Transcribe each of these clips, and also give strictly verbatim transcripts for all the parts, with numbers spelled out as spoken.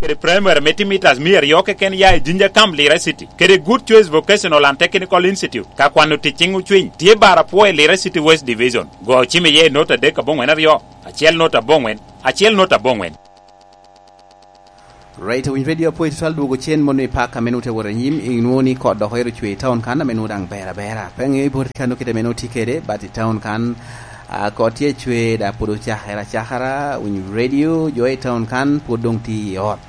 kede primary me timitas mia aryo keken ya i Jinja Camp, Lira City, kede Good Choice Vocational and Technical Institute, ka kwano tic ciŋ ocwiny, tye bar apwo i Lira City West Division. Go cim iye i not adek aboŋwen aryo, acel not aboŋwen, acel not aboŋwen. Right, owiny radio apoyi tutwal dwogo cen mono i pak ame nute woro anyim, inwoŋo ni kot dok oyero cwe i town kan ame nwoŋo daŋ ber abera. Pe aŋeyo i bot kan kite ame nwoŋo tye kede, but i town kan, ah, kot tye cwe, da pwod ocakere acakara, owiny radio, jo i town kan pwod doŋ tye i ot.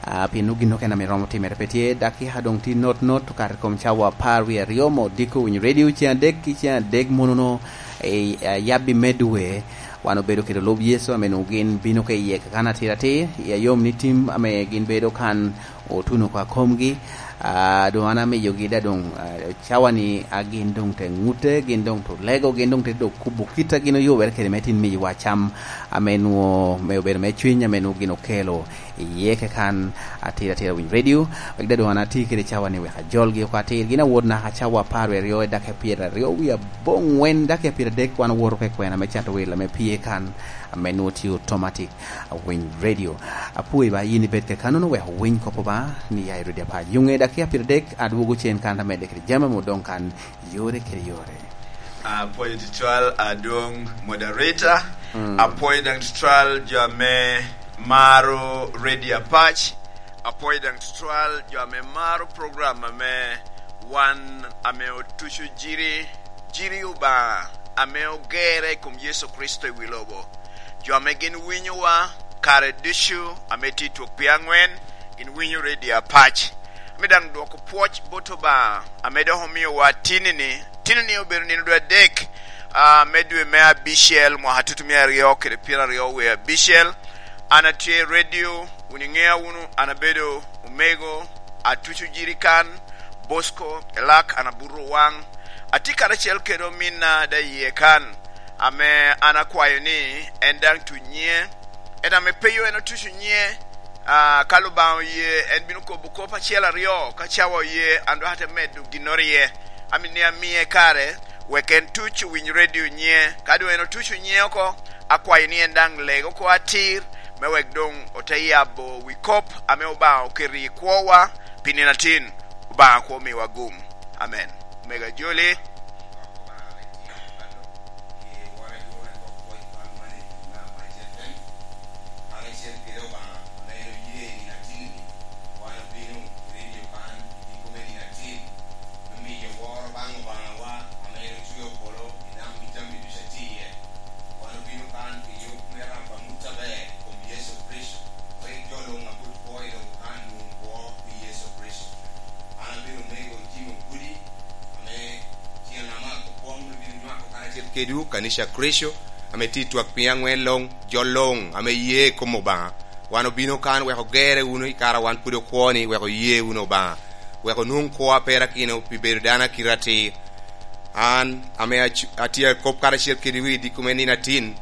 Ah, pien nwoŋo gin okene ame romo timere pe tye, dakika doŋ tye not not, okato i kom cawa apar wie aryo, mo diko owiny radio ceŋ adek, ki ceŋ adek mono no, eh, yabbi me dwe, wan obedo kede olub Yecu ame nwoŋo gin bino ka i yek kan atir atir, i ayom ni tim ame gin bedo kan otuno oko akomgi. Ah, doŋ an amiyogi da doŋ, ah, cawa ni, ah, gin doŋ te ŋute, gin doŋ te lego, gin doŋ te dok kubo kit a gin oyubere kede me tin miyowa cam ame nwoŋo me obedo me cwiny ame nwoŋo gin okelo i yeke kan atir atir owiny radio. Wek da doŋ an ati kede cawa ni wek ajolgi oko atir. Gin awot naka cawa apar wie aryo i dakika pyeraryo wie aboŋwen, dakika pyeradek wan owoto ka i kwena me cato wil ame pye kan, ame nwoŋo tye automatic, awiny radio. Apwoyi ba yin ibed ka kannono wek owiny kop Obaŋa ni ya i rwodi apac. Yuŋe dakika pyeradek, adwogo cen kan amedde kede jami ame odoŋ kan yore kede yore. Apwoyo tutwal adwoŋ moderator. Mm. Apwoyo daŋ tutwal jo ame maro Radio Apac. Apwoyo daŋ tutwal jo ame maro program ame wan ame otuco jiri, jiri Obaŋa ame ogerre i kom Yecu Kricito i wi lobo. Jo ame gin winyowa kare ducu ame tye i twok pye aŋwen, gin winyo Radio Apac. Ame daŋ dwoko pwoc bot Obaŋa ame dok omiowa tinni-ni. Tinni-ni obedo nino dwe adek, ah, me dwe me abicel, mwaka tutumia aryo kede pyeraryo wie abicel. An atye i radio, wun iŋea wunu, an abedo omego, atuco jirikan, Bosco, Elak, an abuto waŋ. Atye karacel kede ominna da iye kan, ame an akwayo ni en daŋ tuc nyiŋe. En ame peyo en otuco nyiŋe, ah, ka Lubaŋa oye, en bino kobo kop acel aryo, ka cawa oye, an dok ate medo ginnoro iye. Amito ni amie kare, wek en tuc owiny radio nyiŋe. Ka doŋ en otuco nyiŋe oko, akwayo ni en daŋ leg oko atir, me wek doŋ ote yabo wi kop ame Obaŋa oketo i kwowa pi nino atin. Obaŋa kwo miwa gum. Amen. Mega Joli. Karacel kede Obaŋa ame en oye i nino atin-ni, wan obino i redio kan i tipo me nino atin, me miyo woro baŋ Obaŋawa ame en ocweo polo i nam i jami ducu a tye iye. Wan obino kan pi yub me rabo amut aber i kom Yecu Kricito, wek jo luŋ a pwod kwo i lobo kan nwoŋ kwo pi Yecu Kricito. An abedo omego Jim Ogudi, ame tyen ama akwo kwoŋ me bino nywako karacel kedwu, kanica Kricito, ame tye i twak piny aŋwen luŋ, jo luŋ ame ye i kom Obaŋa. Wan obino kan wek ogerre wunu i kare a wan pwod okwo-ni, wek oye wunu Obaŋa, wek onwoŋ kwo a perakino pi bedo dano a kite atir. An, ame ac-, atye akop karacel kede wi diko me nino atin,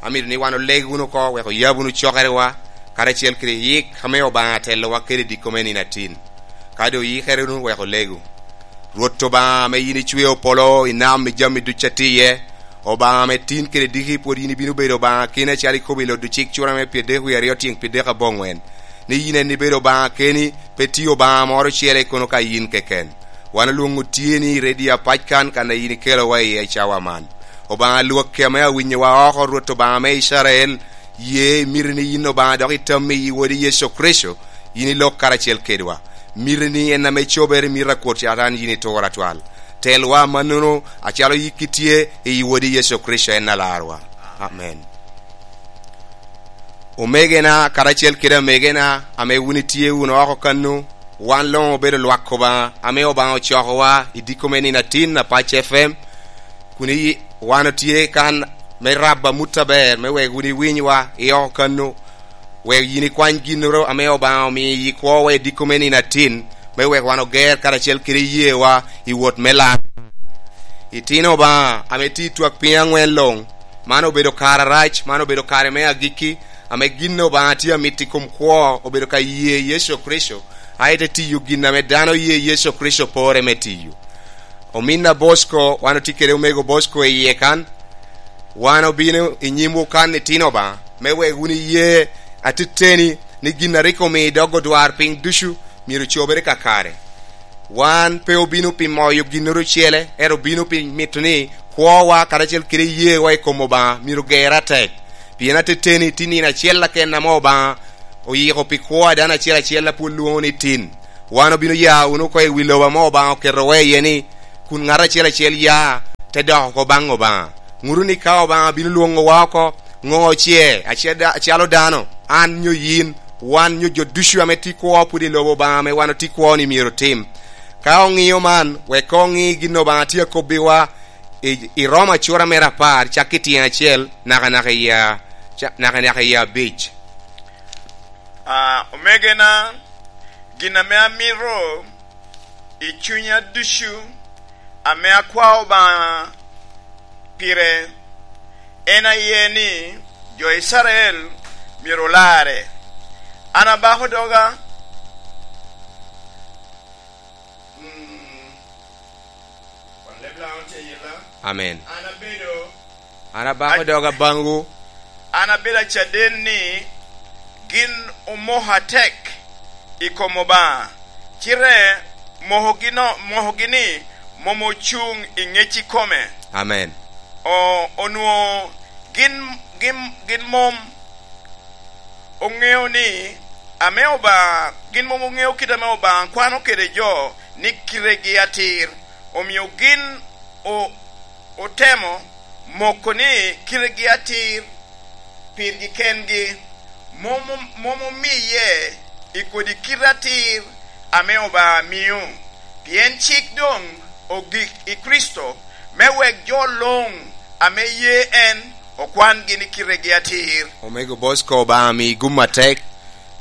amito ni wan oleg wunu oko, wek oyab wunu cokerewa, karacel kede yik ame Obaŋa atellowa kede i diko me nino atin. Ka doŋ oyikere wunu, wek olegu. Rwot Obaŋa ame yin icweo polo i nam i jami ducu a tye iye, Obaŋa ame tin kede diki pwod yin ibino bedo Obaŋa keni acalo ikobo i Lodocik cura me pyerdek wie aryo tyeŋ pyerdek aboŋwen, ni yin en ibedo Obaŋa keni, pe tye Obaŋa moro ocele kono ka yin keken. Wan olwoŋo tyeni i redio Apac kan, kan a yin ikelowa iye i cawa man. Obaŋa Lwakki ame awinyowa oko, Rwot Obaŋa me Icrael, ye imito ni yin Obaŋa dok itammi i Wodi Yecu Kricito, yin ilok karacel kedwa. Miti ni en ame cobere mito a kwot Catan yin itur atwal. Telwa amannono acalo yikki tye i Wodi Yecu Kricito en Alarwa. Amen. Omegena karacel kede amegena ame wun itye wunu oko kannu, wan luŋ obedo lwak Obaŋa ame Obaŋa ocokowa i diko me nino atin Apac F M, kun i-, wan otye kan me rabo amut aber me wek wun iwinywa i oko kannu, wek yin ikwany ginnoro ame Obaŋa omiyo i kwowa i diko me nino atin, me wek wan oger karacel kede iyeewa i wot me lar. Itino Obaŋa ame tye i twak piny aŋwen luŋ, man obedo kare arac, man obedo kare me agikki, ame gin Obaŋa tye amito i kom kwo obedo ka ye Yecu Kricito, a ite tiyo gin ame dano ye Yecu Kricito pore me tiyo. Ominna Bosco, wan otye kede omego Bosco i yie kan. Wan obino i nyimwu kan itino Obaŋa, me wek wun iye atiteni, ni gin a rik omio dog odwarpiny ducu myero cobere kakare. Wan pe obino pi moyo ginnoro ocele, ento obino pi mito ni kwowa karacel kede iyeewa i kom Obaŋa myero gerre atek. Pien ateteni tye nino acel aken ame Obaŋa oyiko pi kwo a dano acel acel a pwod lwoŋo ni tin. Wan obino ya wunu oko i wi lobo ame Obaŋa oketowa iye ni, kun ŋat acel acel ya, te dok oko baŋ Obaŋa. Ŋutu ni ka Obaŋa bino lwoŋowa oko, ŋo ce, ace da-, acalo dano, an nyo yin, wan nyo jo ducu ame tye kwo pwod i lobo Obaŋa ame wan otye kwo ni myero otim. Ka oŋio man, wek oŋi gin Obaŋa tye akobbiwa i, i Roma cura mere apar, cak i tyen acel, naka naka i a-, ca-, naka naka i abic. Ah, omegena, gin ame amito i cunya ducu ame akwao Obaŋa pire en aye ni jo Icrael myero olarre. An abako doga. Mm. Wan leb Laŋo tye ayela. Amen. An abedo An abako doga baŋwu. An abedo acaden ni gin omoko atek i kom Obaŋa, cite mokogi no-, mokogi ni mom ocuŋ i ŋec ikome. Amen. O-, onwoŋo gin, gin, gin mom oŋeo ni ame Obaŋa, gin mom oŋeo kit ame Obaŋa kwano kede jo ni kitegi atir, omio gin o-, otemo moko ni kitegi atir pirgi kengi, mom, mom omiye i kodi kite atir ame Obaŋa mio. Pien cik doŋ ogik i Kricito, me wek jo luŋ ame ye en okwangi ni kitegi atir. Omego Bosco, Obaŋa mi gum atek.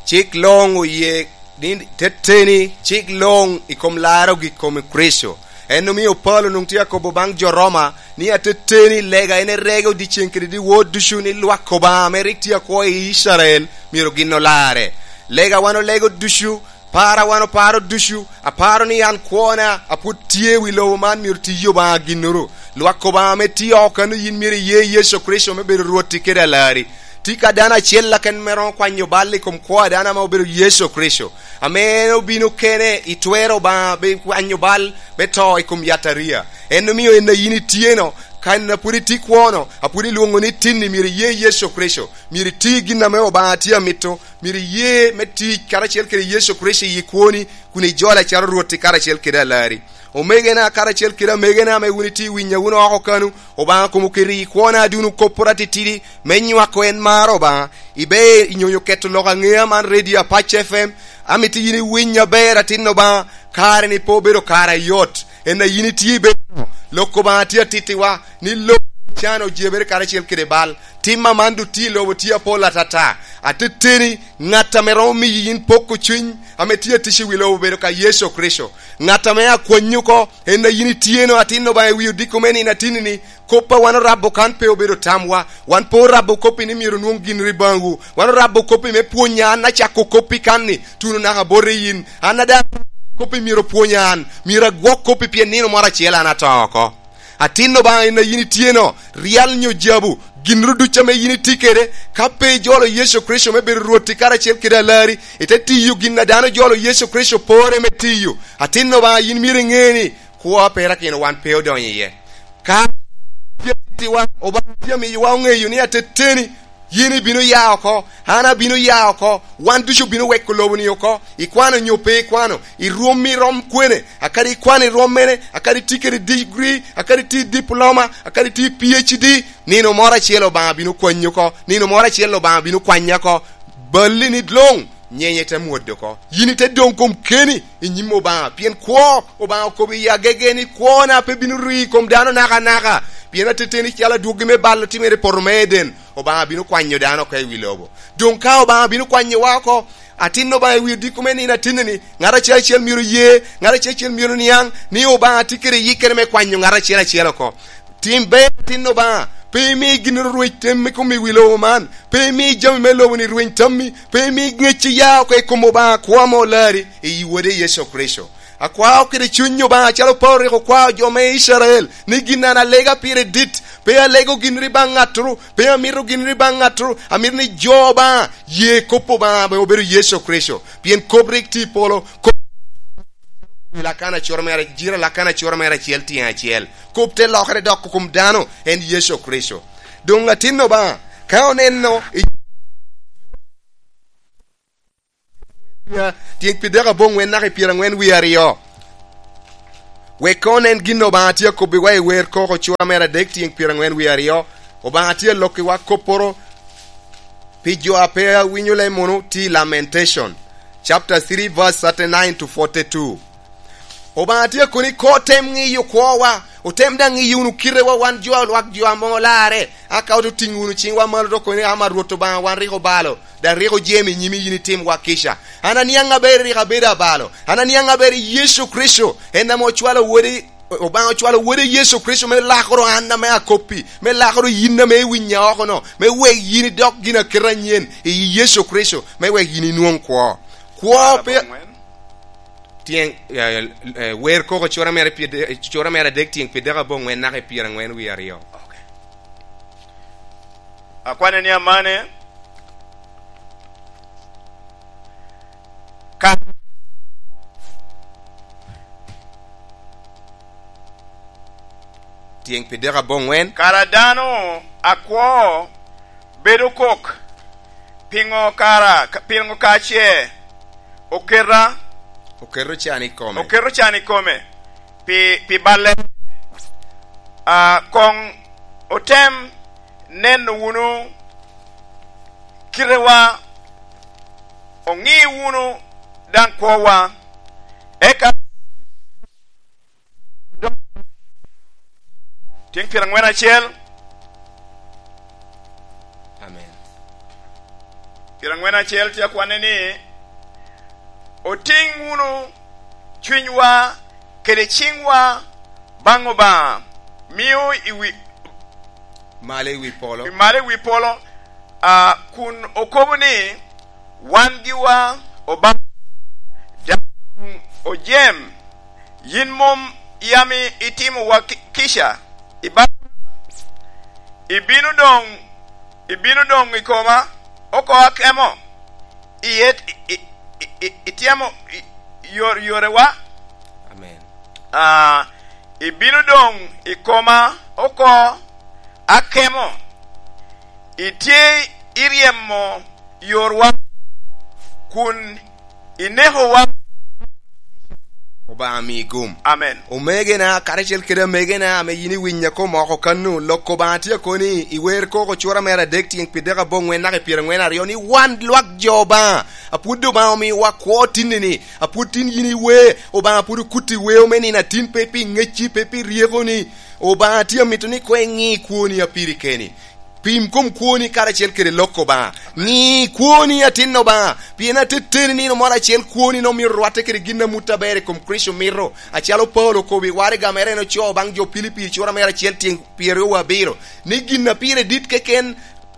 Cik luŋ oye ni teteni, cik luŋ i kom laro gik kom Kricito. En omio Paulo nwoŋo tye akobo baŋ jo Roma ni, ateteni, lega en erego dyeceŋ kede dyewor ducu ni lwak Obaŋa ame rik tye akwo i Icrael myero gin olarre. Lega wan olego ducu, para wan oparo ducu, aparo ni an kwona a pwod tye i wi lobo man myero tiyi Obaŋa ginnoro. Lwak Obaŋa ame tye oko kano yin myero iye Yecu Kricito me bedo Rwotti kede Alarri. Tye ka dano acel aken me romo kwanyo bal i kom kwo a dano ame obedo Yecu Kricito, ame en obino kene i twer Obaŋa, be kwanyo bal me to i kom yataria. En omio en a yin itye-no, kan a pwod itye kwo-no, a pwod ilwoŋo ni tin-ni, myero iye Yecu Kricito, myero iti gin ame Obaŋa tye amito, myero iye me tic karacel kede Yecu Kricito i kwoni, kun ijole acalo Rwotti karacel kede Alarri. Omegena karacel kede amegena ame wun itye i winya wunu oko kanu, Obaŋa kom oketo i kwona adun okopporo atitidi me nywako en mar Obaŋa. Ibe inyonyo keto lok aŋea man, Radio Apac F M. Amito yin iwiny aber, atin Obaŋa, kare-ni pe obedo kare ayot. En a yin itye i bedo, lok Obaŋa tye atittiwa, ni lok can ojebere karacel kede bal. Tim aman doŋ tye i lobo tye apol atata. Ateteni, ŋat ame romo miyi yin poko cuny ame tye atic i wi lobo obedo ka Yecu Kricito. Ŋat ame akwanyi oko, en a yin itye-no, atin Obaŋa, i wi odiko me nino atinni-ni. Kop a wan orabo kan pe obedo tamwa. Wan pe orabo kop-pi ni myero onwoŋ gin i baŋwu. Wan orabo kop-pi me pwonya an, acako kop-pi kan-ni, tuno naka bot i yin. An a daŋ kop-pi myero opwonya an. Myero agwok kop-pi pien nino moro acel an ato oko. Atin Obaŋa, en a yin itye-no, ryal nyo jabu, ginnoro ducu ame yin itye kede, ka pe ijolo Yecu Kricito me bedo Rwotti karacel kede Alarri, ite tiyo gin a dano ojolo Yecu Kricito pore me tiyo. Atin Obaŋa, yin myero iŋe ni kwo a perakino wan pe odonyo iye. Ka tye atittiwa, Obaŋa tye amiyowa oŋeyo ni ateteni, yin ibino ya oko, an abino ya oko, wan ducu obino weko lobo-ni oko. Ikwano nyo pe ikwano? I rwom irom kwene? Akadi ikwano i rwom mene? Akadi itye kede degree? Akadi itye i diploma? Akadi itye i P H D? Nino moro acel Obaŋa bino kwanyi oko. Nino moro acel Obaŋa bino kwanya oko. Balli ni luŋ, nyenye te mwodde oko. Yin ite doŋ kom keni i nyim Obaŋa, pien kwo Obaŋa okobo i agege ni, "Kwona pe bino ri i kom dano nakanaka, pien ateteni calo adwogi me bal otimere i poto me Eden, Obaŋa bino kwanyo dano oko i wi lobo." Doŋ ka Obaŋa bino kwanyowa oko, atin Obaŋa i wi odiko me nino atinni-ni, ŋat acel acel myero ye, ŋat acel acel myero niaŋ ni Obaŋa tye kede yikkere me kwanyo ŋat acel acel oko. Tim ber, atin Obaŋa, pe imi ginnoro rweny tammi kom i wi lobo man, pe imi jami me lobo-ni rweny tammi, pe imi ŋecci ya oko i kom Obaŋa kwo ame olarri i Wode Yecu Kricito. Akwao kede cuny Obaŋa, acalo Paulo rik okwao jo me Icrael, ni gin an alega pire dit, pe alego ginri baŋ ŋattoro, pe amito ginri baŋ ŋattoro, amito ni jo Obaŋa ye kop Obaŋa ame obedo Yecu Kricito, pien kop rik tye i polo, kop i Lakana acura mere, jiro Lakana acura mere acel tyen acel. Kop te lokere dok kom dano, en Yecu Kricito. Doŋ atin Obaŋa, ka oneno i tyen pi dek aboŋwen naka i pyeraŋwen wie aryo. Wek koŋ onen gin Obaŋa tye akobbiwa i wer koko cura mere adek tyen pyeraŋwen wie aryo. Obaŋa tye alokkiwa kopporo pi jo a pe awinyo lem wunu, tye i Lamentation, chapter three, verse thirty-nine to forty-two. Obaŋa tye akoni koŋ otem ŋiyo kwowa, otem daŋ ŋiyo wunu kitewa wan jo a lwak jo a mom olarre, aka ote otiŋ wunu ciŋwa malo dok kono ni, "Ama Rwot Obaŋa, wan rik obalo, daŋ rik ojemo i nyimi yin itimwa kica." An aniaŋ aber rik abedo abalo, an aniaŋ aber i Yecu Kricito, en ame ocwalo Wode, Obaŋa ocwalo Wode Yecu Kricito me lakoro an ame akoppi, me lakoro yin ame iwinya oko-no, me wek yin idok gin aketa anyen i Yecu Kricito, me wek yin inwoŋ kwo. Kwo pe Tyeŋ, eh, eh, wer koko cura mere pi de-, cura mere adek tyeŋ pi dek aboŋwen naka i pyeraŋwen wie aryo. Ok. Akwane ni amane. Ka Tyeŋ pi dek aboŋwen. Kara dano akwo bedo kok, "Piŋo kara, piŋo ka ce oketa, Oketo can i kome. Oketo can i kome pi, pi balle?" A, koŋ otem neno wunu kitewa, oŋi wunu daŋ kwowa, eka Tyeŋ pyeraŋwen acel. Amen. Pyeraŋwen acel tye akwanne ni, "Otiŋ wunu cunywa kede ciŋwa baŋ Obaŋa, mio i wi," Malo i wi polo. "I malo i wi polo, a, kun okobo ni, 'Wan giwa Obaŋa, daŋ ojem, yin mom yam i-, itimowa ki-, kica i bal-, ibino doŋ, ibino doŋ i koma oko akemo, iye i-, i-, i-, i-, ityemo i-, yor-, yorewa." Amen. A, "Ibino doŋ i koma oko akemo, itye iryemo yorwa, kun inekowa." Obaŋa mi gum. Amen. Omegena, karacel kede amegena, ame yin iwinya kom oko kano, lok Obaŋa tye akoni, i wer koko cura mere adek tyeŋ pi dek aboŋwen naka i pyeraŋwen aryo, ni wan lwak jo Obaŋa, apwod Obaŋa omiwa kwo tinni-ni, apwod tin yin iwe, Obaŋa pwod okuti weo me nino atin, pe pi ŋecci, pe pi ryekoni. Obaŋa tye amito ni koŋ iŋi kwoni apiri keni. Pim kom kwoni karacel kede lok Obaŋa. Ŋi kwoni, atin Obaŋa, pien ateteni nino moro acel kwoni nongo myero rwatte kede gin amut aber i kom Kricito mito, acalo Paulo okobo i waraga mere en ocoo baŋ jo Pilipi, cura mere acel tyeŋ pyeraryo abiro, ni gin a pire dit keken,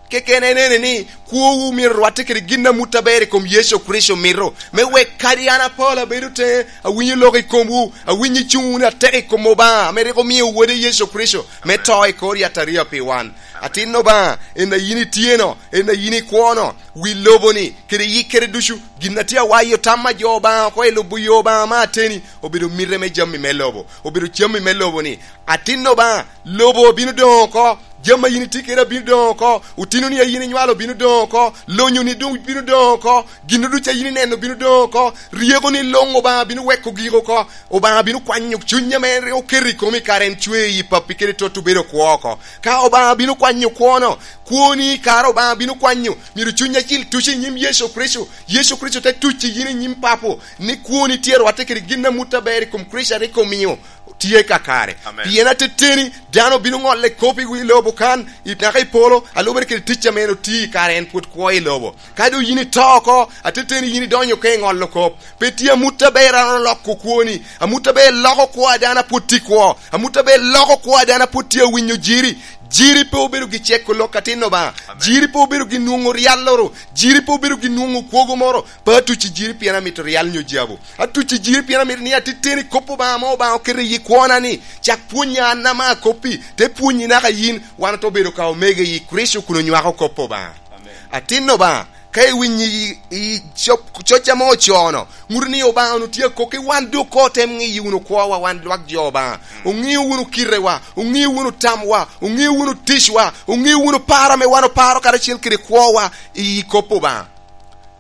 keken en ene ni, kwowu myero rwatte kede gin amut aber i kom Yecu Kricito mito, me wek kadi an Apolo abedo teŋe, awinyo lok i komwu, awinyo icuŋ wunu atek i kom Obaŋa ame rik omio Wode Yecu Kricito me to i kor yataria pi wan. Atin Obaŋa, en a yin itye-no, en a yin ikwo-no, wi lobo-ni, kede yikkere ducu, gin a tye awayo tam a jo Obaŋa oko i lubo yo Obaŋa me ateni, obedo mite me jami me lobo, obedo jami me lobo-ni. Atin Obaŋa, lobo obino doŋ oko, jami a yin itye kede abino doŋ oko, otinoni a yin inywalo obino doŋ oko, lonyoni doŋ bino doŋ oko, gin ducu a yin ineno bino doŋ oko, ryekoni luŋ Obaŋa bino weko gik oko, Obaŋa bino kwanyo cuny ame en rik oketo i komi kare en cwee i pappi kede tot obedo kwo oko. Ka Obaŋa bino kwanyo kwono, kwoni kara Obaŋa bino kwanyo, myero cuny acil tuc i nyim Yecu Kricito, Yecu Kricito te tuc i yin i nyim Papo, ni kwoni tye rwatte kede gin amut aber i kom Kricito a rik omio tye kakare. Amen. Pien ateteni, dano bino ŋolle kop i wi lobo kan, i naka i polo, a lubere kede tic ame en otio i kare en pwod kwo i lobo. Ka doŋ yin ito oko, ateteni yin idonyo ka i ŋolo kop. Pe tye amut aber a oloko kwoni. Amut aber loko kwo a dano a pwod tye kwo. Amut aber loko kwo a dano a pwod tye awinyo jiri. Jiri pe obedo gi ceko lok atin Obaŋa. Amen. Jiri pe obedo gi nwoŋo ryalloro. Jiri pe obedo gi nwoŋo kwogo moro. Pe atuc i jiri pien amito ryal nyo jabu. Atuc i jiri pien amito ni atitteni kop Obaŋa ame Obaŋa oketo i kwona ni, cak pwonya an ame akoppi, te pwonyi naka yin, wan ote obedo ka omego i Kricito kun onywako kop Obaŋa. Amen. Atin Obaŋa, ka iwinyo i, i cop-, coc ame ocono, ŋuto ni Obaŋa onwoŋo tye akokki, wan doŋ koŋ otem ŋiyo wunu kwowa, wan lwak jo Obaŋa. Oŋeo wunu kitewa, oŋeo wunu tamwa, oŋeo wunu ticwa, oŋeo wunu paro ame wan oparo karacel kede kwowa i kop Obaŋa.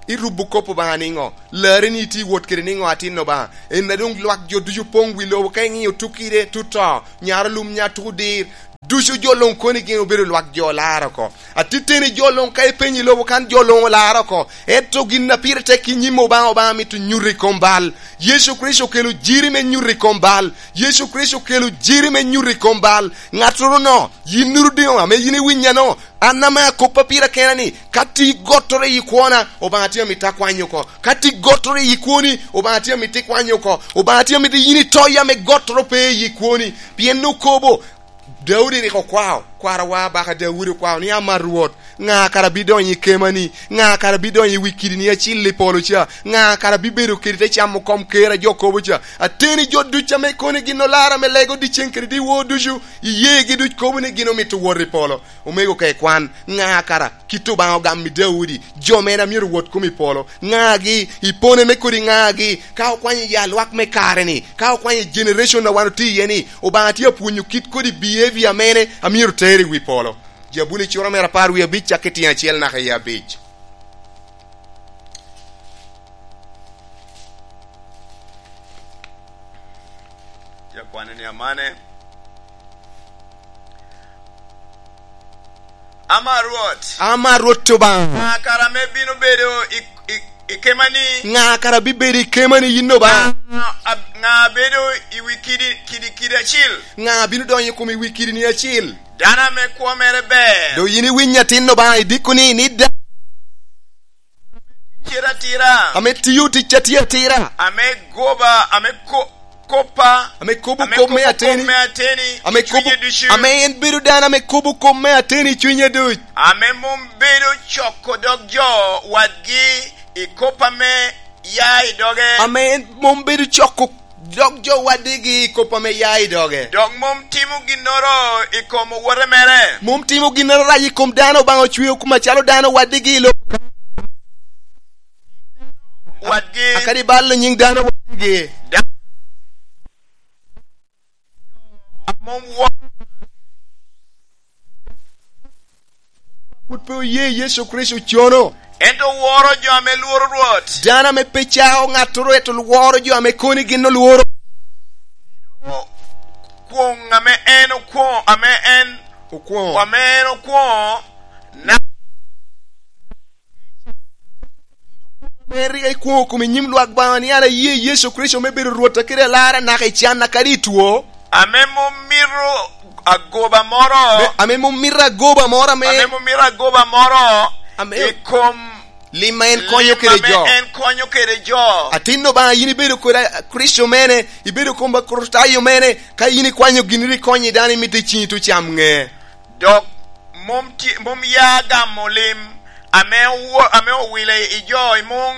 Irubo kop Obaŋa niŋo? Larre ni itye wot kede niŋo atin Obaŋa? En a doŋ lwak jo ducu poŋ wi lobo, ka iŋiyo tukide, tuto, nyaro lum, nya tuko dir, ducu jo luŋ koni gin obedo lwak jo olar oko. Atitteni jo luŋ ka ipenyo i lobo kan jo luŋ olar oko. Ento gin a pire tek i nyim Obaŋa, Obaŋa mito nyuto i kom bal. Yecu Kricito okelo jiri me nyuto i kom bal. Yecu Kricito okelo jiri me nyuto i kom bal. Ŋattoro no, yin nuru diŋo ame yin iwinya no? An ame akoppa pira kena ni, ka tye gottoro i kwona, Obaŋa tye amito akwany oko. Ka tye gottoro i kwoni, Obaŋa tye amito ikwany oko. Obaŋa tye amito yin ito yam i gottoro pe i kwoni. Pien okobo, Daudi rik okwao, kwarawa abaka Daudi okwao ni, "Ama Rwot, ŋa kara bidonyo i kemani? Ŋa kara bidonyo i wi kidini acil i polo ca? Ŋa kara bibedo kede te camo kom ker a jo kobo ca?" Ateni jo duc ame koni gin olara me lego dyeceŋ kede dyewor ducu, iyeegi duc kobo ni gin omito wot i polo. Omego ka ikwan, ŋa kara kit Obaŋa ogamo i Daudi, jo mere a myero wot kom i polo, ŋagi, i pone me kodi ŋagi, ka okwanyo ya lwak me kare-ni, ka okwanyo generation a wan otye iye-ni, Obaŋa tye apwonyo kit kodi behavior mene a myero ter i wi polo. Jabuli cura mere apar wie abic, cak i tyen acel naka i abic. Tye akwane ni amane. Ama Rwot. Ama Rwot Obaŋa. Ŋa kara ame bino bedo i, i, i kemani? Ŋa kara bibedo i kemani yin Obaŋa? Ŋa, a, ŋa bedo i wi kidi, kidi, kidi acil? Ŋa bino donyo i kom i wi kidini acil? Dano ame kwo mere ber. Doŋ yin iwinyo atin Obaŋa, idiko ni, ni da- Tye atira. Ame tio tic a tye atira. Ame goba, ame ko-, koppa. Ame kobo kop me ateni. Ame kobo kop me ateni. Ame kobo, ame en bedo dano ame kobo kop me ateni i cunye duc. Ame mom bedo coko dog jo wadgi i kop ame ya i doge. Ame en mom bedo coko dog jo wadigi i kop ame ya i doge. Dok mom timo ginnoro i kom owote mere. Mom timo ginnoro rac i kom dano Obaŋa ocweo macalo dano wadigi i lobo ka. Wadgi. Akadi balo nyiŋ dano wadigi. Da-, mom wo- Pwod pe oye Yecu Kricito cono. Ento woro jo ame lworo Rwot. Dano ame pe cao ŋattoro, ento woro jo ame koni gin olworo. Kwoŋ ame en okwoŋo, ame en okwoŋo, ame en okwoŋo, na- Ame rik ikwoŋo kom i nyim lwak Obaŋa ni, "An aye Yecu Kricito me bedo Rwotta kede Alarra naka i canna kadi i two." Ame mom mito agoba moro. Ame, ame mom mito agoba moro ame. Ame mom mito agoba moro. Ame i kom lim ma en konyo kede jo. Lim ame en konyo kede jo. Atin Obaŋa, yin ibedo kodi a-, Kricito mene, ibedo kom Akricitayo mene, ka yin ikwanyo gin rik ikonyo dano, imito i ciŋi tucam ŋe. Dok mom tye, mom ya gamo lim ame owo-, ame owile i jo i muŋ.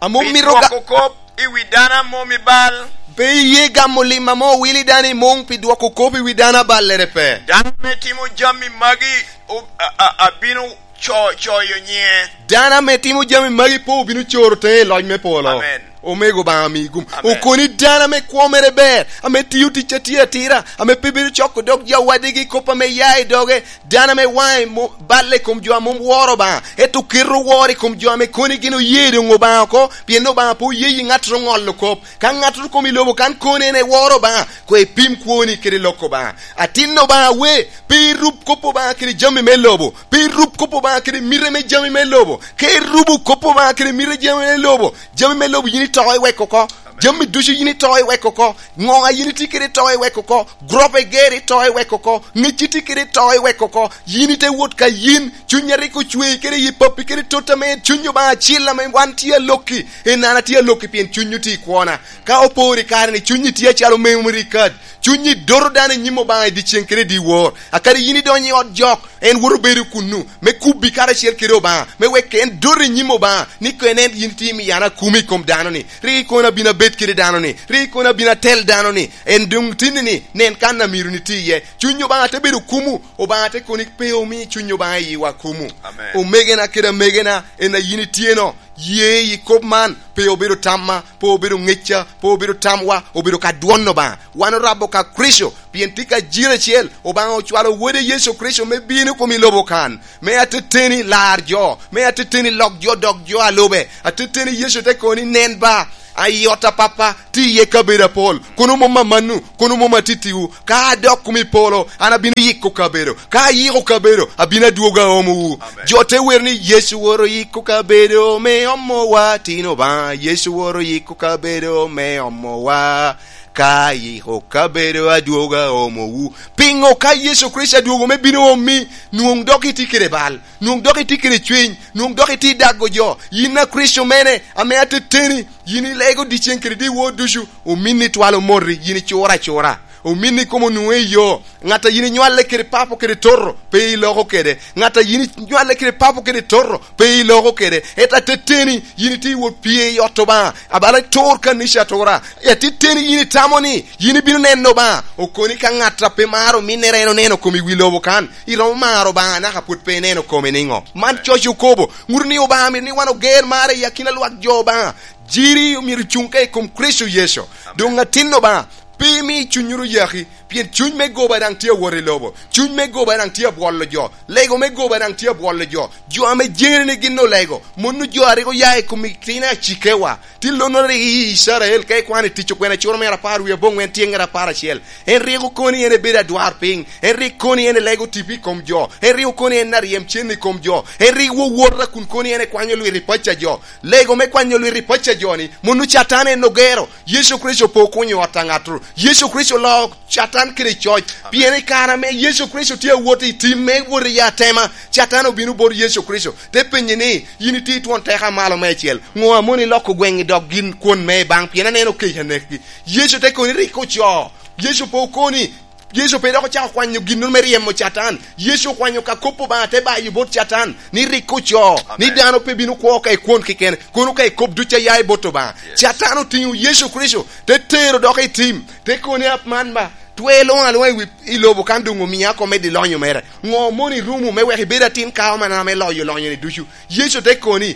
Ame pi omito ga- dwoko kop i wi dano a mom i bal. Pe iye gamo lim ame owil i dano i muŋ pi dwoko kop i wi dano a ballere pe. Dano ame timo jami magi o-, a, a, abino co-, coyo nyiŋe. Dano ame timo jami magi pe obino coro teŋe i loc me polo. Amen. Omego Obaŋa mi gum. Amen. Okoni dano ame kwo mere ber, ame tio tic a tye atira, ame pe bedo coko dog jo wadigi kop ame ya i doge, dano ame waŋe mo-, balle i kom jo a mom woro Obaŋa, ento keto woro i kom jo ame koni gin oye doŋ Obaŋa oko, pien Obaŋa pe oye yi ŋattoro ŋolo kop. Ka ŋattoro kom i lobo kan koni en eworo Obaŋa, koŋ ipim kwoni kede lok Obaŋa. Atin Obaŋa we, pe irub kop Obaŋa kede jami me lobo, pe irub kop Obaŋa kede mite me jami me lobo. Ka irubo kop Obaŋa kede mite jami me lobo, jami me lobo yin ito iweko oko. Jami ducu yin ito iweko oko. Ŋoŋa yin itye kede ito iweko oko. Grop eger ito iweko oko. Ŋec itye kede ito iweko oko. Yin ite wot ka yin. Cuny a rik ocwei kede yi pappi kede tot ame cuny Obaŋa acil ame wan tye alokki. En an atye alokki pien cuny otye i kwona. Ka oporo i kare-ni, cunyi tye acalo memory card. Cunyi doto dano i nyim Obaŋa i dyeceŋ kede i dyewor. A kadi yin idonyo i ot jok, en woto bedo kunnu, me kubbi karacel kede Obaŋa, me wek en dot i nyim Obaŋa, ni koŋ en, en yin itye miyo an akumi i kom dano-ni. Rik ikono abino abed kede dano-ni. Rik ikono abino atel dano-ni. En doŋ tinni-ni, nen kan a myero niti iye. Cuny Obaŋa te bedo kumu, Obaŋa te koni pe omi Cuny Obaŋa i yiwa kumu. Amen. Omegena kede amegena, en a yin itye-no, ye i kop man, pe obedo tamma, pe obedo ŋecca, pe obedo tamwa, obedo ka dwon Obaŋa. Wan orabo ka Kricito, pien tye ka jiro acel, Obaŋa ocwalo Wode Yecu Kricito me bino i kom i lobo kan, me ateteni lar jo, me ateteni lok jo dok jo a lube. Ateteni Yecu te koni, "Nen ba, a i ot a Pappa tye iye kabedo apol, kono mom amannu, kono mom atittiwu. Ka adok kom i polo, an abino yiko kabedo. Ka ayiko kabedo, abino adwogo aomowu." Amen. Jo te wer ni, "Yecu woro yiko kabedo me omowa, tin Obaŋa, Yecu woro yiko kabedo me omowa. Ka yiko kabedo adwogo aomowu." Piŋo ka Yecu Kricito adwogo me bino omi, nwoŋ dok itye kede bal, nwoŋ dok itye kede cwiny, nwoŋ dok itye dago jo? Yin a Kricito mene, ame ateteni, yin ilego dyeceŋ kede dyewor ducu, ominni twal omoti, yin icuro acura. Ominni kom onwoŋo i yo. Ŋat a yin inywale kede papo kede toto, pe iloko kede. Ŋat a yin inywale kede papo kede toto, pe iloko kede. Ento ateteni, yin itye i wot pye i ot Obaŋa, abala itur kanica atura. Ateteni yin itamo ni yin ibino neno Obaŋa. Okoni ka ŋat a pe maro ominnere en oneno kom i wi lobo kan, iromo maro Obaŋa naka pwod pe ineno kome niŋo? Man coc okobo. Ŋuto ni Obaŋa mito ni wan oger mar i akina lwak jo Obaŋa. Jiri myero cuŋ ka i kom Kricito Yecu. Amen. Doŋ atin Obaŋa, pe imi cunnyoro yaki, pien cuny me goba daŋ tye awot i lobo. Cuny me goba daŋ tye abwolo jo. Lego me goba daŋ tye abwolo jo. Jo ame jeri ni gin olego, mano jo a rik oya i kom itino acikewa. Tye lonnoro i Icrael, ka ikwano i Tic Okwena curo mere apar wie aboŋwen tyeŋŋere apar acel. En rik okoni en ebedo adwarpiny. En rik koni en elego tipo i kom jo. En rik okoni en aryem cen i kom jo. En rik wowota kun koni en ekwanyo lwit i paco a jo. Lego me kwanyo lwit i paco a jo-ni, mano Catan en ogero. Yecu Kricito pe okunyo ot a ŋattoro. Yecu Kricito oloo Catan kede coc. Amen. Pien i kare ame Yecu Kricito tye awot i tim me wot i atema, Catan obino bot Yecu Kricito, te penye ni, "Yin itye i twon teko a malo meicel. Ŋo a moni iloko gweŋ i dog gin kwon me i baŋ, pien aneno kec anekgi?" Yecu te koni, "Rik ocoo." Yecu pe okoni, Yecu pe dok ocako kwanyo gin me ryemo Catan. Yecu okwanyo ka kop Obaŋa te bayo bot Catan, ni rik ocoo, amen, ni dano pe bino kwo ka i kwon keken, kono ka i kop ducu a ya i bot Obaŋa. Yes. Catan otiŋo Yecu Kricito, te tero dok i tim, te koni, "Ap man ba, twe luŋ aluŋa i wi, i lobo kan doŋ omia oko medde lonyo mere. Ŋo moni irumo me wek ibed atin ka ame an ame loyo lonyo-ni ducu?" Yecu te koni,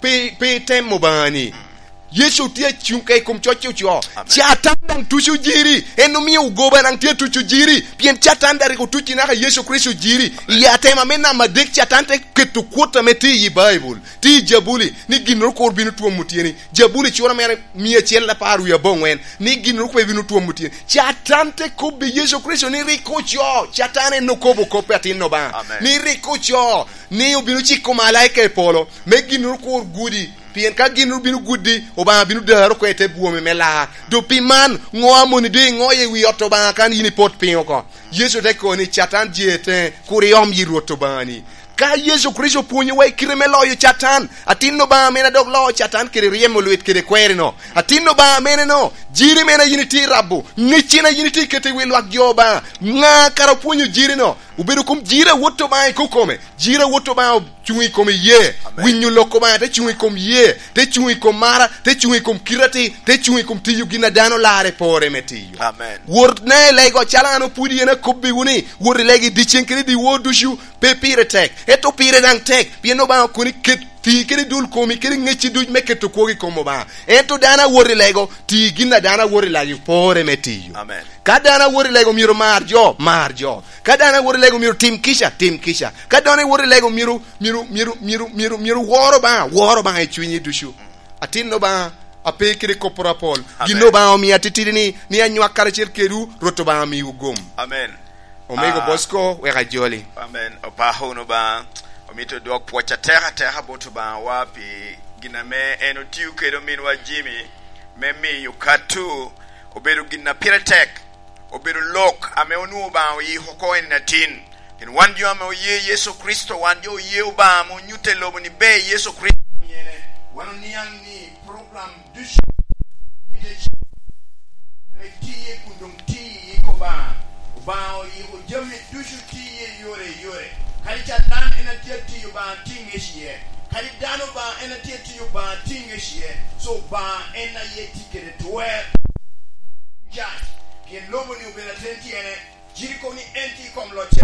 "Pe, pe item Obaŋa-ni." Yecu tye acuŋ ka i kom coc ocoo. Amen. Catan daŋ tuco jiri. En omio goba daŋ tye tuco jiri. Pien Catan daŋ rik otuci naka Yecu Kricito jiri. Amen. I atema me namba adek, Catan te keto kwot ame tye i Baibul, tye i Jabuli, ni ginnoro kur bino twomo tyeni. Jabuli cura mere mia acel apar wie aboŋwen, ni ginnoro kur bino twomo tyeni. Catan te kobbi Yecu Kricito ni rik ocoo. Catan en okobo kop atin Obaŋa. Amen. Ni rik ocoo. Ni obino ciko malaika i polo, me ginnoro kur gudi. Pien ka gin obino gudi, Obaŋa bino daro oko i te bwomi me lar. Doŋ pi man, ŋo a moni doŋ iŋoyo i wi ot Obaŋa kan yin ipot piny oko? Yecu te koni, "Catan je teŋe, kur iom yi Rwot Obaŋani." Ka Yecu Kricito opwonyowa i kite me loyo Catan, atin Obaŋa mene a dok loo Catan kede ryemo lwit kede kwerino? Atin Obaŋa mene no, jiri mene a yin itye i rabo, ŋeccina a yin itye i keto i wi lwak jo Obaŋa? Ŋa kara opwonyo jiri no? Obedo kom jiri a wot Obaŋa i kokome. Jiri a wot Obaŋa ocuŋ i kom iyee. Amen. Winyo lok Obaŋa te cuŋ i kom iyee, te cuŋ i kom mara, te cuŋ i kom kite atir, te cuŋ i kom tiyo gin a dano larre pore me tiyo. Amen. Wot na i lego, acalo an opwodi en akobbiwu ni, wot i lego i dyeceŋ kede i dyewor ducu, pe pire tek, ento pire daŋ tek, pien Obaŋa okoni ket ti kede dul komi kede ŋecci duc me keto kwogo i kom Obaŋa. Ento dano a wot i lego, ti gin a dano a wot i lego pore me tiyo. Amen. Ka dano a wot i lego myero mar jo, mar jo. Ka dano a wot i lego myero tim kica, tim kica. Ka dano a wot i lego myero, myero, myero, myero, myero, myero wor Obaŋa, wor Obaŋa i cunyi ducu. Atin Obaŋa, ape kede kopporo apol. Amen. Gin Obaŋa omio atitidi ni, ni anywak karacel kedwu, Rwot Obaŋa miwu gum. Amen. Omego, ah, Bosco, wek ajoli. Amen. Opako wunu Obaŋa. Omito dwok pwoc atek ateka bot Obaŋawa pi gin ame en otio kede ominwa Jimmy me miyo Katu obedo gin a pire tek, obedo lok ame onwoŋo Obaŋa oyiko oko en atin. Pien wan jo ame oye Yecu Kricito, wan jo oye Obaŋa ame onyutte i lobo ni ber Yecu Kricito omyere. Wan oniaŋ ni program ducu ame tye kun doŋ tye i Obaŋa, Obaŋa oyiko jami ducu tiye i yore i yore. Kadi Catan en a tye atiyo Obaŋa tye ŋec iye. Kadi dano Obaŋa en a tye atiyo Obaŋa tye ŋec iye. So Obaŋa en aye tye kede twer. Can, pien lobo-ni obedo aten tyene, jiri kobo ni en tye i kom locce.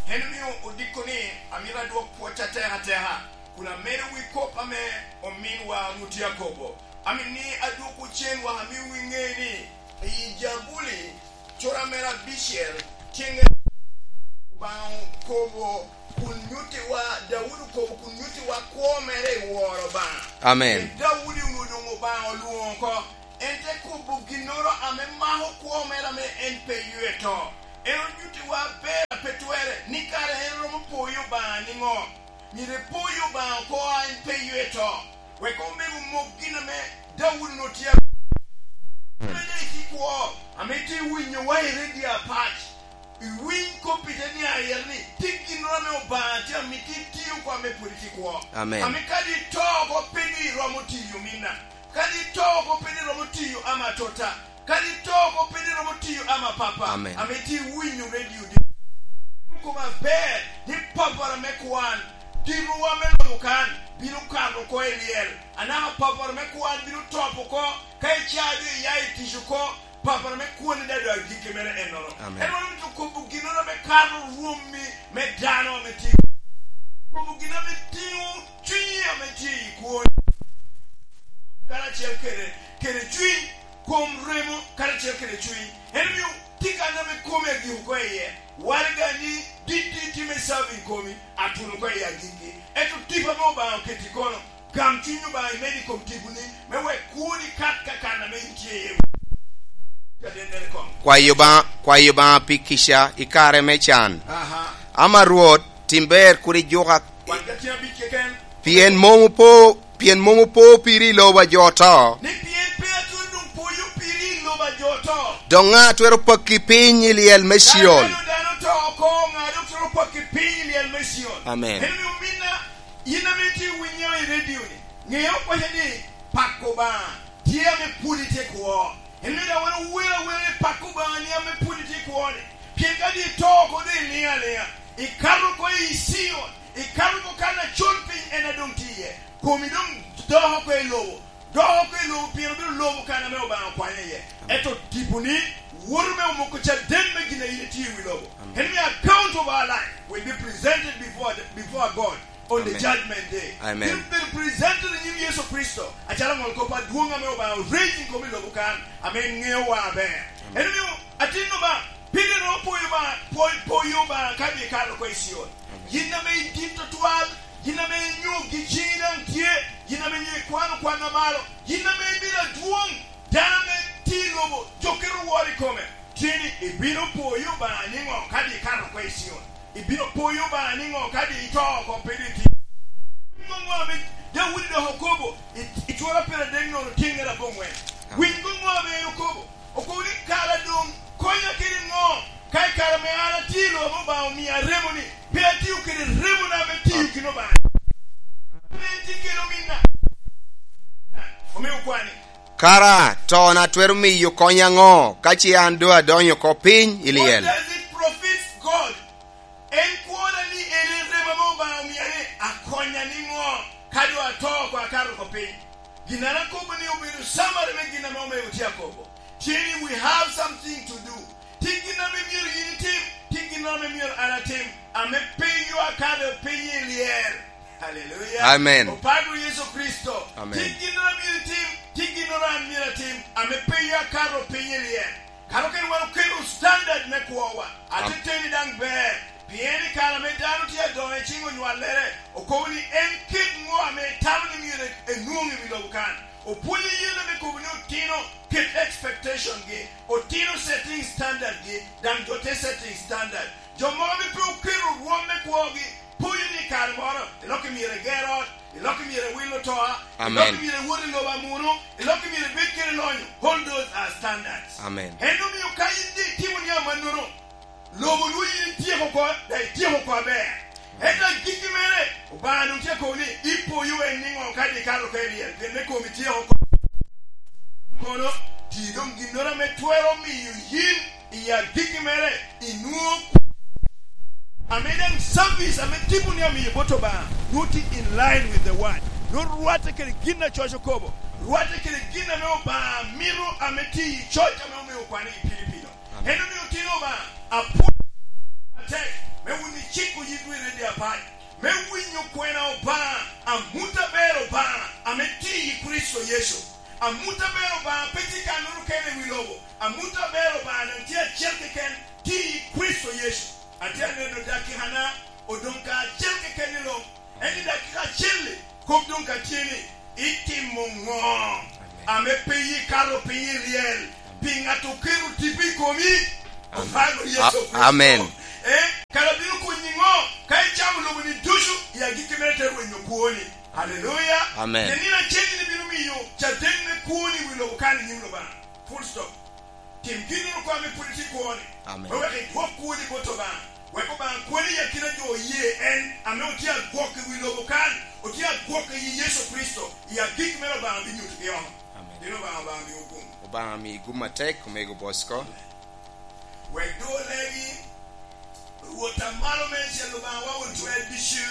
En omio odiko ni, amito adwok pwoc atek ateka, kun amedo wi kop ame ominwa Rwot tye akobo. Amito ni adwokwu cen wek amiwu iŋe ni, i Jabuli, cura mere abicel, tye ŋe Obaŋa okobo, kun nyuttiwa, Daudi okobo, kun nyuttiwa kwo mere i woro Obaŋa. Amen. Pien Daudi onwoŋo doŋ Obaŋa olwoŋo oko. En te kobo ginnoro ame mako kwo mere ame en pe ywe to. En onyuttiwa aber a pe twerre, ni kara en romo poyo Obaŋa niŋo. Myero epoyo Obaŋa oko a en pe ywe to, wek omego mok gin ame Daudi onwoŋo tye a-, ame daŋ itye kwo, ame itye winyowa i redio apac. Iwiny kop i te niaŋ ayet ni, tye ginnoro ame Obaŋa tye amito iti oko ame pwod itye kwo. Amen. Ame kadi ito oko pe ni iromo tiyo minna. Kadi ito oko pe ni iromo tiyo ama tota. Kadi ito oko pe ni iromo tiyo ama papa. Amen. Ame itye iwinyo redio di. Koma ber ni papara me kwan, tirowa me lobo kan, bino kato oko i lyel. Anaka papara me kwan bino top oko, ka icaa doŋ iya i tic oko, papara me kwone daŋ doŋ agikki mere ennoro. Amen. En wan omito kobo ginnoro ame kato rwommi me dano ame tye. Kobo gin ame tiŋo cwinyi ame tye i kwoni. Karacel kede, kede cwiny, kom remo, karacel kede cwiny. En omio tye kan ame komi agik oko iye. Waraga ni dit dit itye me serving komi, atuno oko iye agikki. Ento tipo ame Obaŋa oketo i kono, gam cuny Obaŋa imed i kom tiponi, me wek kwoni kat ka kan ame in tye iye. Kadennere koŋ. Kwayo Obaŋa, kwayo Obaŋa pi kica i kare me can. Aha. Ama Rwot, tim ber, kur ijuka. Wan ka tye abic keken. Pien mom opo, pien mom opo piri i lobo a jo oto. Ni pien pe atwero doŋ poyo piri i lobo a jo oto. Dok ŋa twero pakki piny i lyel me Cion? Ka dano, dano to oko, ŋa dok twero pakki piny i lyel me Cion? Amen. En omio ominna, in ame itye winyo i redio-ni, ŋe oko waco ni pako Obaŋa tye ame pwod itye kwo. En omio daŋ wan owero awera ni pako Obaŋa ni ame pwod itye kwo-ni. Pien ka doŋ ito oko doŋ iliŋo aliŋa, ikato oko i Cion, ikato oko kan acol piny en a doŋ tye iye. Komi doŋ dok oko i lobo, dok oko i lobo pien obedo lobo kan ame Obaŋa okwanyo iye. Ento tiponi woto me omoko caden me gin a in itye i wi lobo. Amen. En omio account of our life will be presented before the, before God on the Amen. Judgment Day. Amen. Bino bedo presented i nyim Yecu Kricito, acalo aŋol kop adwoŋ ame Obaŋa oreco i kom i lobo kan, ame en ŋeowa aber. Amen. En omio atin Obaŋa, pien en opoyo Obaŋa, po-, poyo Obaŋa ka doŋ ikato oko i Cion. Amen. Yin ame idit tutwal, yin ame inyo gi ciŋi daŋ tye, yin ame inyo ikwano kwan amalo, yin ame ibedo adwoŋ, dano ame tye i lobo, jo kite oworo i kome. Tye ni ibino poyo Obaŋa niŋo ka doŋ ikato oko i Cion? Ibino poyo Obaŋa niŋo ka doŋ ito oko pe doŋ itye? Winy ŋo ŋo ame Daudi dok okobo i, i cura pyeradek nono tyeŋŋere aboŋwen? Winy ŋo ŋo ame en okobo? Okobo ni, "Kara doŋ konya kede ŋo, ka i kare ame an atye i lobo ame Obaŋa omia remo-ni, pe atio kede remona me tiyo gin Obaŋa ame en tye kede ominna?" Omio okwane. Kara tona twero miyo konya ŋo, ka ce an doŋ adonyo oko piny i lyel? What does it profit God? En kwona ni en en remo ame Obaŋa omia ni akonya niŋo, ka doŋ ato oko akato oko piny? Gin an akobo ni obedo summary me gin ame omego tye akobo. Tye ni we have something to do. Tye gin ame myero yin itim, tye gin ame myero an atim, ame pe yo akato piny i lyel. Haleluya. Amen. Opak Rwot Yecu Kricito. Amen. Tye gin ame myero itim, tye gin ame an myero atim, ame pe yo akato piny i lyel. Kara okene wan oketo standard me kwowa. Am- Ateteni daŋ ber, pien i kare ame dano tye adoŋo i ciŋ onywallere, okobo ni en kit ŋo ame etamo ni myero enwoŋ i wi lobo kan. Opwonyo yen ame kobo ni otino ket expectation-gi, otino setting standard-gi, daŋ jo te setting standard. Jo mogo ame pe oketo rwom me kwogi, poyo ni i kare moro, ilok i myero eger ot, ilok i myero ewil otoa, ilok i Amen. myero ewot i lobo amuno, ilok i myero ebed kede lonyo. All those are standards. Amen. En omio ka in doŋ itimo ni amannono, lobo nwoŋo yin ityeko oko, daŋ ityeko oko aber. Ento agikki mere, Obaŋa doŋ tye akobo ni, ipoyo en niŋo ka doŋ ikato oko i lyel, pien me komi tyeko oko. Kono, ti doŋ ginnoro ame twero miyo yin I agikki mere, inwoŋo ame daŋ service ame tipo ni amiyo bot Obaŋa, nwoŋo tye in line with the word. Nwoŋo rwatte kede gin a coc okobo, rwatte kede gin ame Obaŋa mito ame tye i coc ame omio kwan i Pilipino. Amen. En omio otino Obaŋa apwony atek me wun iciko yitwu i redio apac, me winyo kwena Obaŋa, amut aber Obaŋa ame tye i Kricito Yecu. Amut aber Obaŋa pe tye kannoro kene i wi lobo. Amut aber Obaŋa daŋ tye acel keken, tye i Kricito Yecu. Atye aneno dakikana odoŋ ka acel keken i lok. En i dakika acel-li, kop doŋ ka tye ni, itimo ŋo ame pe ikato piny i ryel pi ŋat oketo tipo i komi? Obaŋa Yecu Kricito. Amen. Eh, kara bino konyi ŋo ka icamo lobo-ni ducu i agikki mere te rwenyo kwoni? Haleluya. Amen. Pien nino acel-li bino miyo caden me kwoni i wi lobo kan i nyim Obaŋa. Full stop. Tim ginnoro kono ame pwod itye kwoni. Amen. Me wek idwok kwoni bot Obaŋa. Wek Obaŋa kwoni i akina jo oye en ame otye agwok i wi lobo kan, otye agwok i Yecu Kricito, i agik mere Obaŋa binyutogi oko. Amen. Dino Obaŋa, Obaŋa miwu gum. Obaŋa mi gum atek, omego Bosco. Wek doŋ olegi, Rwot a malo meicel Obaŋawa won twer ducu,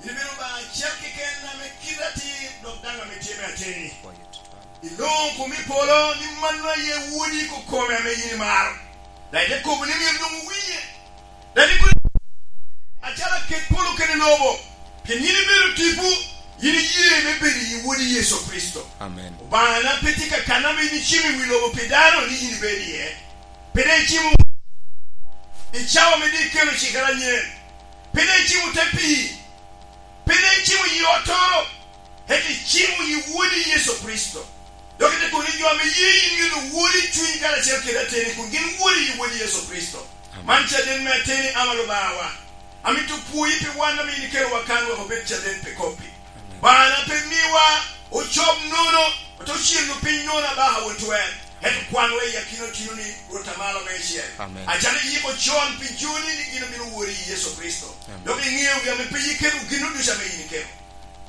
in ibedo Obaŋa acel keken ame kite atir, dok daŋ ame tye me ateni. Iloŋo komi i polo ni mano aye Wodi kokome ame yin imaro. Daŋ ite kobo ni myero doŋ owinye. Daŋ ikobo acalo aket polo kede lobo, pien yin ibedo tipo, yin iye me bedo i Wodi Yecu Kricito. Amen. Obaŋana pe tye ka kan ame yin icimo i wi lobo pi dano ni yin ibedo iye. Pe daŋ icimo i cawa ame doŋ ikelo cikere anyen. Pe daŋ icimo te pii. Pe daŋ icimo yi ottoro. Ento icimo yi Wodi Yecu Kricito. Dok ite kobo ni jo ame ye yin myero wot i cuny karacel kede ateni, kun gin wot i Wodi Yecu Kricito. Amen. Man caden me ateni, ama Obaŋawa. Amito pwoyi pi wan ame yin ikelowa kan wek obed caden pi kop-pi. Amen. Obaŋana pe miwa ocob nono, ote ocelo piny nono abaka won twer. Ento kwanwa i akina otino ni Rwot a malo meicel. Amen. Acalo iyiko con pi joni ni gin obino wori i Yecu Kricito. Amen. Dok iŋeogi ame pe iketo gin ducu ame yin iketo.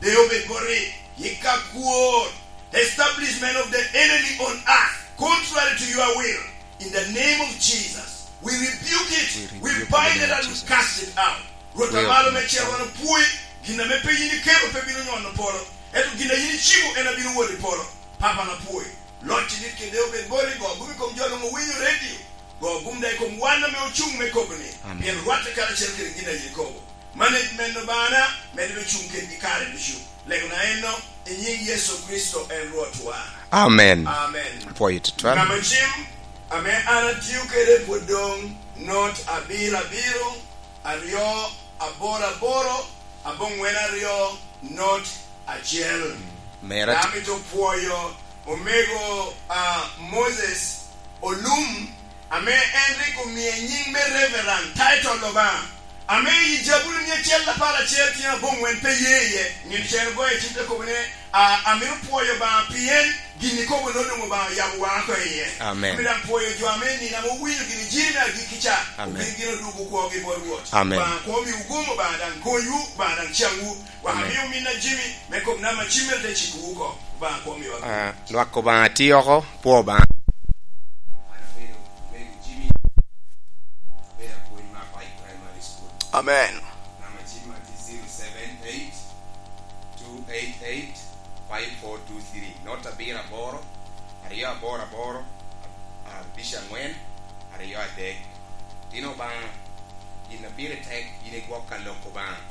De obed boti, yik akwor, establishment of the enemy on earth, contrary to your will. In the name of Jesus, we rebuke it, we bind it and we cast it out. Rwot a malo meicel, wan opwoi, gin ame pe yin iketo pe bino nyono polo, ento gin a yin icimo en abino wot i polo. Papa na pwoi, loc i dit kede obed boti, go gum i kom jo luŋ owinyo redio, go gum daŋ i kom wan ame ocuŋ me kobo ni, amen, pien rwatte karacel kede gin a yin ikobo. Management Obaŋana, medde me cuŋ kedgi kare ducu. Legona enno, i nyiŋ Yecu Kricito en Rwotwa. Amen. Amen. Pwoyo tutwal. Namba cim ame an atio kede pwod doŋ, not abiro abiro, aryo aboro aboro, aboŋwen aryo, not acel. Mera. Amito pwoyo omego, ah, Moses Olum, ame en rik omie nyiŋ me Reverend, title Obaŋa, ame i Jabuli mia acel apar acel tyen aboŋwen pe ye iye. Nino cen ogoyo cim te kobo ni, a, amito pwoyo Obaŋa pien gin ikobo no doŋ Obaŋa oyabo waŋa oko iye. Amen. Amito daŋ pwoyo jo ame nino ame owinyo gin ijiri me agikki ca, amen, obin gin odwogo kwogi bot Rwot. Amen. Obaŋa kwo miwu gum, Obaŋa daŋ konywu, Obaŋa daŋ caŋwu. Wamio min a Jimmy me kop namba cim mere te cikowu oko. Obaŋa kwo miwa. Ah, lwak Obaŋa tye oko, pwo Obaŋa. An abedo mego Jimmy, abedo apwony me Apac Primary School. Amen. Namba cim ma tye zero seven eight two eight eight five four two three. Not abiro aboro, aryo aboro aboro, abic aŋwen, aryo adek. Tino Obaŋa, gin a pire tek, yin igwok ka lok Obaŋa.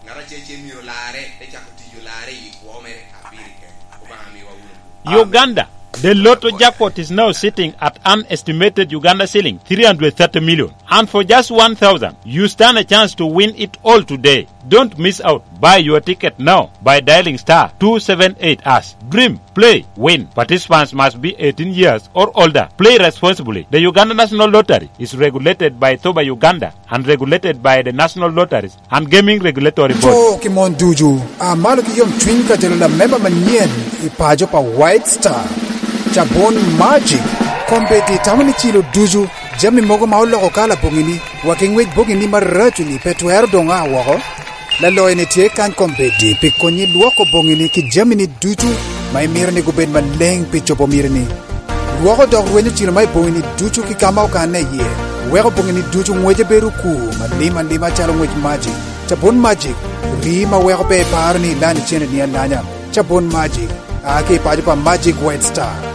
Ŋat acel acel myero olarre, te cako tic olarre i kwo mere, a pire tek. Obaŋa miwa wunu. Amen. Uganda, the lotto jackpot is now sitting at an estimated Uganda shilling three hundred thirty million. And for just one thousand, you stand a chance to win it all today. Don't miss out. Buy your ticket now by dialing star two seven eight hash. Dream, play, win. Participants must be eighteen years or older. Play responsibly. The Uganda National Lottery is regulated by thoba Uganda and regulated by the National Lotteries and Gaming Regulatory Board. Co ki mon ducu, a malo ki yomcwiny ka jalo lamemba manyen i paco pa White Star. Cabun Magic, kombeddi tamo ni cilo ducu, jami mogo ma oloko kala boŋini, wa ki ŋwec boŋini maraco-ni pe twero doŋ a woko. Laloyo-ni tye kany kombeddi pi konyi lwoko boŋini ki jami-ni ducu ma imito ni gubed maleŋ pi cobo mitini. Dwoko dok rwenyo cilo ma i boŋini ducu ki ka ma okanne iye. Weko boŋini ducu ŋwece bedo okur, alim alima calo ŋwec Magic. Cabun Magic, rii ma weko pe iparo ni ilany icenneni alanya. Cabun Magic, a ki i paco pa Magic White Star.